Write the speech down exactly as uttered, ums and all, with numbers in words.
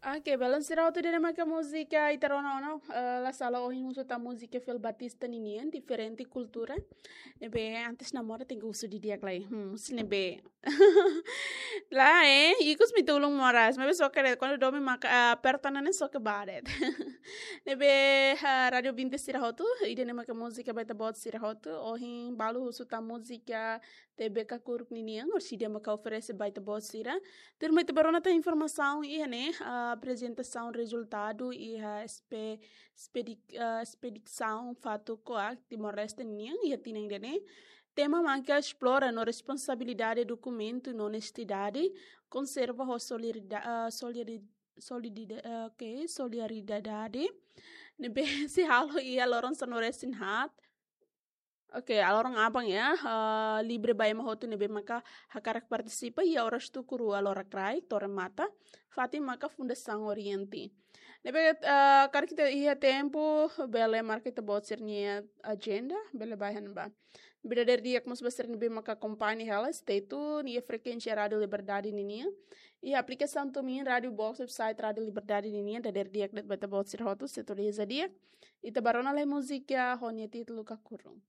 Oke, belun sira hotu, ida-ne'e maka múzika ita rona ona, eh, la sala ohin husu tan múzika Fel Batista ninian, diferente kultura. Ne'ebé antes namora tenke husu didi'ak lai. Hmm, husu ne'ebé. Lae, ikus mi tulung moras, maibé soke de'it, kuandu domin maka, ah, perto ne'e soke ba de'it. Ne'ebé, ah, Rádio Vinte sira hotu, ida-ne'e maka múzika ba ita-boot sira hotu, ohin balu husu tan múzika T V Kakuruk ninian, orsida maka oferese ba ita-boot sira. Tuirmai ita bá rona tan informasaun iha ne'e, ah, aprezentasaun rezultadu iha espe-, espedi-, ah, espedisaun fatuk koak Timor-Leste nian iha tinan ida-ne'e. Tema maka esplora no responsabilidade dokumentu no onestidade, konserva ho solidarida-, ah, solidari-, solidida-, ah, oke, solidariedade. Ne'ebé sei halo iha loron sanulu-resin-haat. Oke, loron aban ya, eh, livre ba ema hotu ne'ebé maka hakarak partisipa iha oras tuku rua loraik rai, Torre Mata, fatin maka Fundasaun Oriente. Ne'ebé, eh, karik ita iha tempu, bele marka ita-boot sira-nia ajenda, bele bá iha ne'ebá. Bá dadeer di'ak mós ba sira ne'ebé maka akompaña hela, stay tune, iha frekuénsia Rádio Liberdade ninian. Iha aplikasaun TuneIn, Rádio Box, website Rádio Liberdade ninian, dadeer di'ak de'it ba ita-boot sira hotu, sintonia di'ak. Ita bá rona lai múzika ho nia títulu Kakuruk.